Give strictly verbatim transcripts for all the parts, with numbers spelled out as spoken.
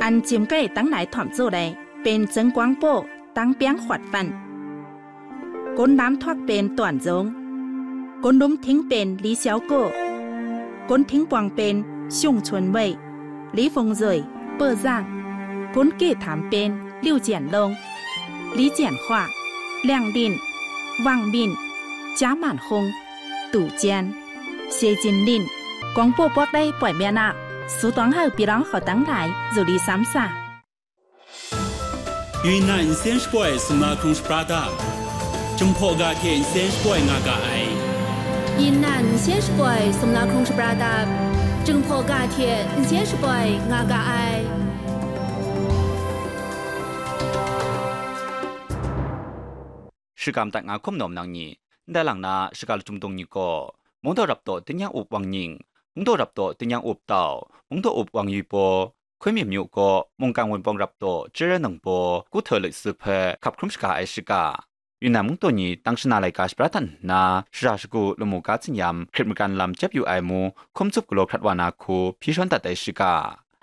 An chyim kai tang nai htawm tsu ai, pen Zeng Guang Paw, Tang Piang Hkawt Fan. Gun lam htawk pen Tuan Zung. Gun lum hting pen Li Xiao Kaw. Gun hting bawng pen Shung Chun Wei, Li Fung Zui, Pe Zang. Gun ke htam pen Liu Jian Long, Li Jian Hkwa, Liang Lin, Wang Min, Jia Man Hung, Tu Jian, Xie Jin Lin, Gawng Paw Pawk Lai Poi Mian A, Su Tuang Hau Pyi Lawng Hkau Tang Lai, Zu Li Sam Sa. 云南 nsen shapoi sumla hkrung shapra dap, Jinghpaw ga hte nsen shapoi nga ga ai. 云南 nsen shapoi sumla hkrung shapra dap, Jinghpaw ga hte nsen shapoi nga ga ai. Shikam dat nga hkum nawm nang ni, ndai lang na shaka lachyum dung ni gaw, Mungdaw Raptaw Tingnyang Up Wang Nying, Mungdaw Raptaw Tingnyang Up Tau, Mungdaw Up Wang Yu Paw, Hkun Myim Myu gaw, Mungkan Wunpawng Raptaw Chyaran Nang Baw, Kuhte Loi Su hpe hkap hkrum shaga ai shika. Yunnan Mungdaw ni tang shana laika shapra dat nna, shara shagu lamu ga tsinyam hkrit magan lam jep yu ai mu hkum tsup galaw hkrat wa na hku hpyi shawn dat ai shika.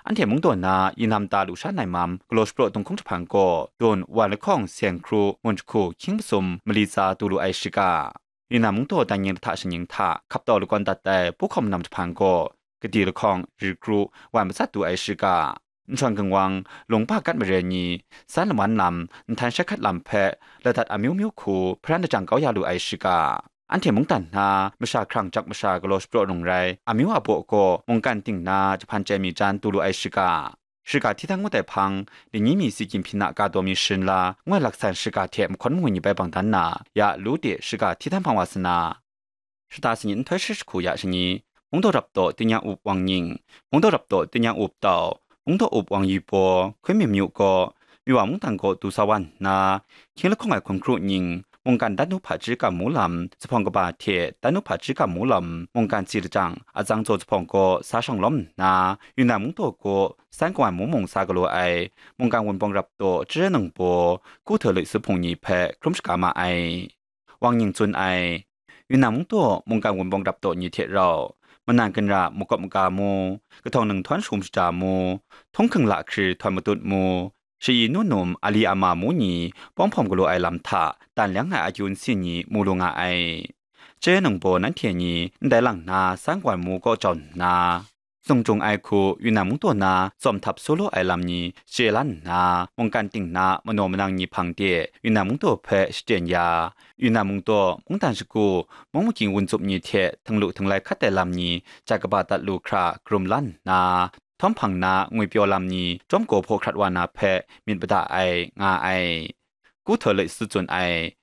Anhte Mungdaw na yinam ta lusha nai mam galaw shapraw dunghkung jahpang gaw, dun wan lahkawng seng hkru mun jahku hkying masum mali tsa du lu ai shika. Yunnan Mungdaw dan yin lahta shingnying hta hkap tau lakawn dat ai puhkawm nam jahpang gaw, kadi lahkawng ri kru wan matsat du ai shika. Nhtawng gangwang, lungba gat maren ni, san laman lam, nhtan shai hkat lam hpe, ladat amyu myu hku hparan lajang kau ya lu ai shika. Anhte mungdan hna masha hkrang jak masha galaw shapraw rung rai, amyu a baw gaw mungkan ting na jahpan chye mi jan du lu ai shika. Shika hti htan ngut ai hpang, Lingyi mi si Kyinghpin a ka daw mi sharin la, ngoi laksan shika hte mahkawn mangwi ni bai bang dan na, ya lu de shika hti htan hpang wa sa na, shata sanit nhtoi shi jahku ya shangi, Mungdaw Raptaw Tingnyang Up Wang Nying, Mungdaw Raptaw Tingnyang Up Tau, Mungdaw Up Wang Yu Paw, Hkun Myim Myu gaw, Miwa mungdan gaw du sa wa nna, hkying lahkawng ai hkun hkru nying, mungkan dan nu hpaji kam mu lam, zuphpawng kaba hte dan nu hpaji kam mu lam, mungkan si lajang, atsang tsaw zuphpawng gaw sa shawng lawm nna, Yunnan Mungdaw gaw san kawai mung mung sa galaw ai, mungkan Wunpawng Raptaw Chyaran Nang Baw, Kuhte Loi Su Hpung ni hpe hkrum shaga ma ai. Wang Nying tsun ai. Yunnan Mungdaw mungkan Wunpawng Raptaw ni hte rau, manan ginra makawp maga mu, kahtawng ninghthawn shum shaja mu, htunghking lahkri htawn matut mu, shayi nu num ali ama mu ni pawng hpawm galaw ai lam hta dan leng ai akyu nsin ni mu lu nga ai. Chyaran Nang Baw nanhte ni ndai lang na san kawai mu kaw jau nna, sung jung ai hku Yunnan Mungdaw na tsawm htap su lu ai lam ni chye la nna, mungkan ting na manaw manang ni hpang de Yunnan Mungdaw hpe shaten ya, Yunnan Mungdaw mungdan shagu, mung makying wun tsup ni hte htinglu htinglai hkat ai lam ni jat kaba dat lu hkra karum la nna, htawm hpang na ngwipyaw lam ni chyawm gaw hpaw hkrat wa na hpe myit mada ai, nga ai. Kuhte Loi Su tsun ai.